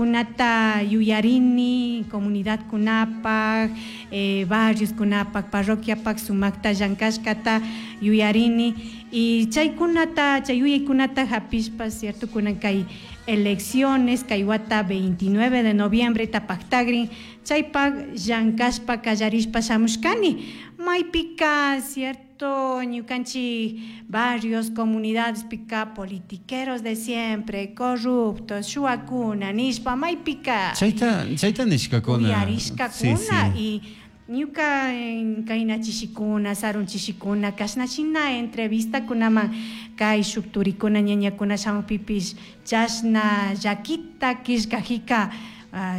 Llankaykunata yuyarini comunidadkunapak, barrioskunapak, parroquiapak sumakta llankashkata yuyarini y chaykunata, chay yuyaykunata hapishpa, cierto, kunan kay elecciones kay wata 29 de noviembre paktagrin, chaypak llankashpa kallarishpa shamushkani. Maypika, cierto, ñukanchik barrios, comunidades pika politiqueros de siempre, corruptos, shuwakuna nishpa maypika Chayta nishkakuna. Uyarishkakuna y ñuka kayna chishikuna, sarun chishikuna, kashna shina entrevistakunaman kay shuk turikuna, ñañakuna shamukpipish chashna llakita killkajika,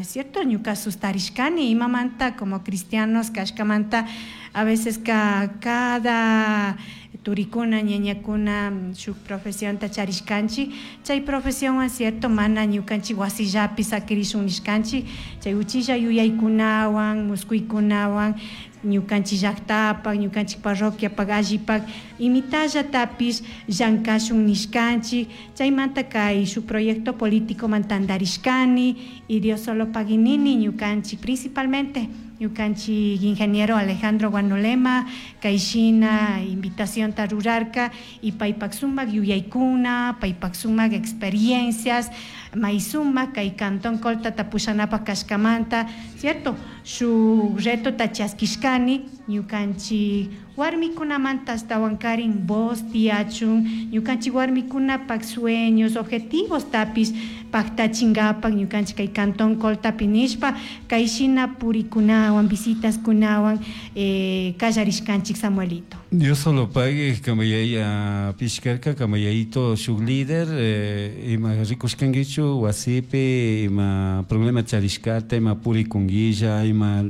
cierto, ñuka sustarishkani imamanta como cristianos kashkamanta a veces ka cada turikuna, ñañakuna shuk profesionta charishkanchik, chay profesionwan, cierto, mana ñukanchik wasillapi sakirishun nishkanchik, chay uchilla yuyaykunawan, muskuykunawan ñukanchik llaktapak, ñukanchik parroquiapak, allipak imitallatapish llankashun nishkanchik. Chaymanta kay shuk proyecto político man tandarishkani y Dios solo paguinini ñukanchik, principalmente ñukanchik ingeniero Alejandro Guanolema kayshina invitacionta rurarka y paypak sumak yuyaykuna, paypak sumak experiencias may sumak kay Cantón Coltata pushanapak kashkamanta, cierto, shuk retota chaskishkani ñukanchik warmikunamanta ashtawankarin voz tiyachun, ñukanchik warmikunapak sueños, objetivos tapish paktachinkapak ñukanchik kay Cantón Coltapi nishpa kayshina purikunawan, visitaskunawan kallarishkanchik, Samuelito. Dios solo pague kamayaya pishkarka kamayayito shuk líder, ima rikushkankichu wasipi ima problema charishkata, ima purikunguilla ima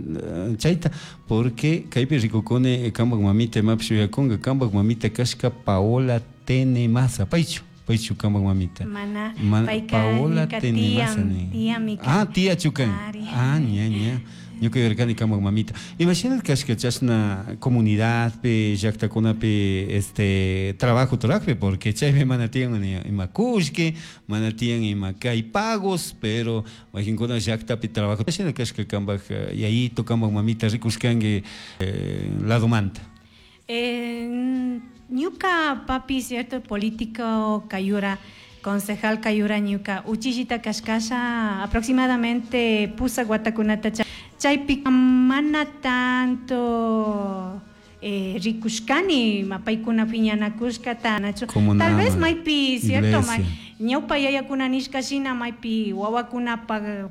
chayta, porque kaypi rikukuni kampak mamita imapish yuyakunka, kampak mamita kashka Paola Tenemaza, paychu kampak mamita? Mana, Mana, payka Paola ñuka Tenemaza tía, ni. Tía Ah, tía chukan. Ari. Ah, ña, ña. Ñuka yuyarkani kampak mamita. Imashina kashka chashna comunidadpi, llaktakunapi este trabajo turakpi, porque chaypi mana tiyan ni ima kullki, mana tiyan ima kay pagos, pero wakinkuna llaktapi trabajo. Imashina kashka kampak yayito, kampak mamita rikushkanki ladomanta? Ñuka papi, cierto, político kayura, concejal kayura ñuka uchillita kashkasha aproximadamente pusak watakunata chaypi mana tanto rikushkani paykuna piñanakushkata nachu. Tal vez maypi, cierto, iglesia. Ñawpa yayakuna nishka shina maypi wawakuna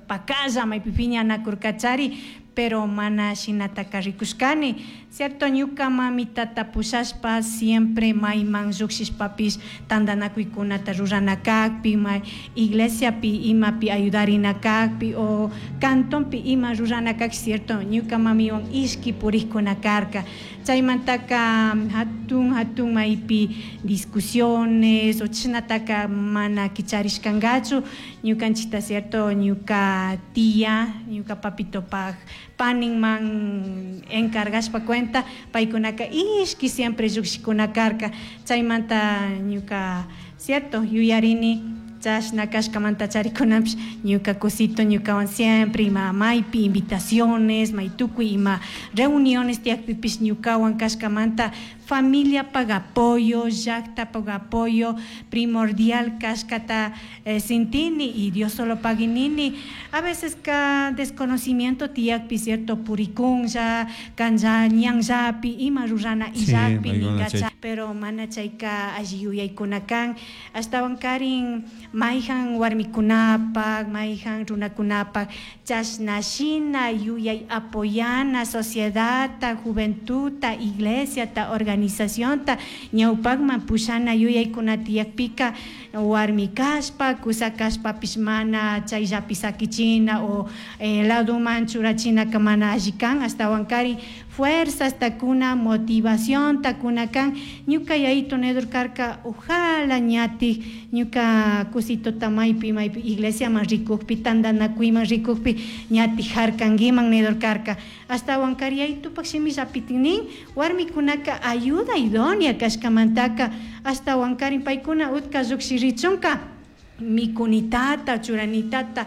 pakalla maypi piñanakurkachari, pero mana shinataka rikushkani, cierto. Ñuka mamitata pushashpa siempre mayman llukshishpapish tantanakuykunata rurana kakpi, may iglesiapi imapi ayudarina kakpi o cantonpi ima rurana kakpi, cierto, ñuka mamiwan ishki purikkuna karka. Chaymantaka hatun hatun maypi discusiones o chashnataka mana kicharishkankachu ñukanchikta, cierto. Ñuka tía, ñuka papitopak paninman encargashpa cuenta paykunaka ishki siempre llukshikuna karka. Chaymanta ñuka, cierto, yuyarini chashna kashkamanta charikunapish ñuka cosito ñukawan siempre ima maypi invitaciones, may tukuy ima reuniones tiyakpipish ñukawan kashkamanta familiapak apoyo, llaktapak apoyo primordial kashkata sintini y Dios solo paguinini. A veces ka desconocimiento tiyakpi, cierto, purikunlla kanja ñanllapi ima rurana illakpi ninkacha, pero mana chayka alli yuyaykuna kan. Ashtawan karin mayjan warmikunapak, mayjan runakunapak chashna shina yuyay apoyana sociedadta, juventudta, iglesiata, organizacionta ñawpakman pushana yuyaykuna tiyakpika warmi kashpa, kusa kashpapish mana chayllapi sakichina o ladoman churachinaka mana alli kan. Ashtawan karin fuerzasta kuna, motivacionta kuna kan. Ñuka yayito nedur karka ojala ñatik ñuka kusitota maypi maypi iglesiaman rikukpi, tantanakuyman rikukpi ñatik harkankiman nedur karka. Ashtawan kari yayitupak shimillapitik nin warmikunaka ayuda idónea kashkamantaka ashtawan karin paykuna utka llukshirichunka mikunitata, churanitata.